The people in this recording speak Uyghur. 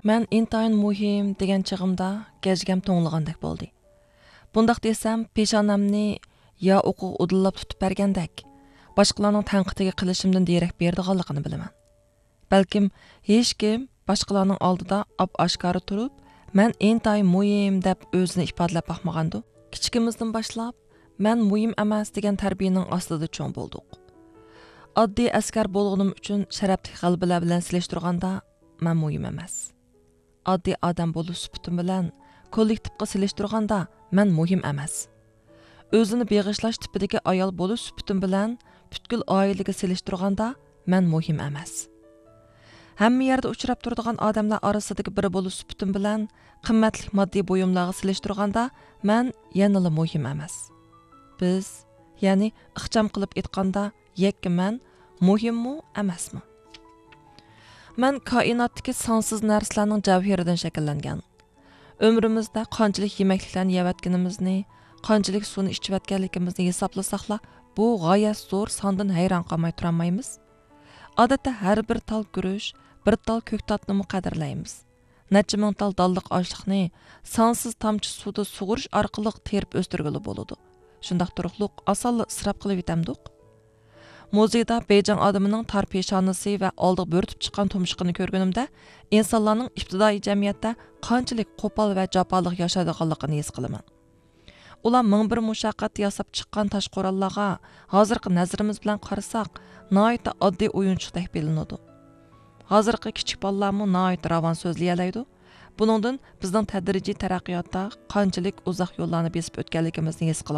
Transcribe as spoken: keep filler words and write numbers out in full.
مەن ئىنتايىن مۇھىم دېگەن چېغىمدا گەجگەم توڭلىغاندەك بولدى. بۇنداق دېسەم، پېشانەمنى يا ئوقىغا ئۇدۇللاپ تۇتۇپ بەرگەندەك، باشقىلارنىڭ تەنقىدىگە قىلىشىمدىن دېرەك بېرىدىغانلىقىنى بىلىمەن. بەلكىم ھېچكىم باشقىلارنىڭ ئالدىدا ئاپئاشكارا تۇرۇپ، مەن ئىنتايىن مۇھىم دەپ ئۆزىنى ئىپادىلەپ باقمىغاندۇ؟ كىچىكىمىزدىن باشلاپ، مەن مۇھىم ئەمەس دېگەن تەربىيەنىڭ ئاستىدا چوڭ بولدۇق. ئاددىي ئەسكەر بولغىنىم ئۈچۈن شەرەپلىك غەلىبىلەر بىلەن سېلىشتۇرغاندا، مەن مۇھىم ئەمەس. ئاددىي ئادەم بولۇش سۈپىتىم بىلەن كوللېكتىپقا سېلىشتۇرغاندا، مەن مۇھىم ئەمەس. ئۆزىنى بېغىشلاش تىپىدىكى ئايال بولۇش سۈپىتىم بىلەن پۈتكۈل ئائىلىگە سېلىشتۇرغاندا، مەن مۇھىم ئەمەس. ھەممە يەردە ئۇچراپ تۇرىدىغان ئادەملەر ئارىسىدىكى بىرى بولۇش سۈپىتىم بىلەن قىممەتلىك ماددىي بۇيۇملارغا سېلىشتۇرغاندا، مەن يەنىلا مۇھىم ئەمەس. بىز، يەنى ئىخچام قىلىپ ئېيتقاندا، يەككە مەن مۇھىممۇ، ئەمەسمۇ؟ مەن كائىناتتىكى سانسىز نەرسىلەرنىڭ جەۋھىرىدىن شەكىللەنگەن. ئۆمرىمىزدە قانچىلىك يېمەكلىكلەرنى يەۋەتكىنىمىزنى، قانچىلىك سۇنى ئىچىۋەتكەنلىكىمىزنى ھېسابلىساقلا، بۇ غايەت زور ساندىن ھەيران قالماي تۇرالمايمىز. ئادەتتە ھەر بىر تال گۈرۈچ، بىر تال كۆكتاتنىمۇ قەدىرلەيمىز. نەچچە مىڭ تال دانلىق ئاشلىقنى سانسىز تامچە سۇدا سۇغۇرۇش ئارقىلىق تېرىپ ئۆستۈرگىلى بولىدۇ. شۇنداق تۇرۇقلۇق ئاسانلا ئىسراپ قىلىۋېتەمدۇق؟ مۇزېيدا بېيجىڭ ئادىمىنىڭ تار پېشانىسى ۋە ئالدىغا بۆرتۈپ چىققان تۇمشۇقىنى كۆرگىنىمدە، ئىنسانلارنىڭ ئىپتىدائىي جەمئىيەتتە قانچىلىك قوپال ۋە جاپالىق ياشايدىغانلىقىنى ھېس قىلىمەن. ئۇلار مىڭ بىر مۇشەققەتتە ياساپ چىققان تاش قوراللارغا ھازىرقى نەزىرىمىز بىلەن قارىساق، ناھايىتى ئاددىي ئويۇنچۇقتەك بىلىنىدۇ. ھازىرقى كىچىك بالىلارمۇ ناھايىتى راۋان سۆزلىيەلەيدۇ. بۇنىڭدىن بىزنىڭ تەدرىجىي تەرەققىياتتا قانچىلىك ئۇزاق يوللارنى بېسىپ ئۆتكەنلىكىمىزنى ھېس قىلىمىز.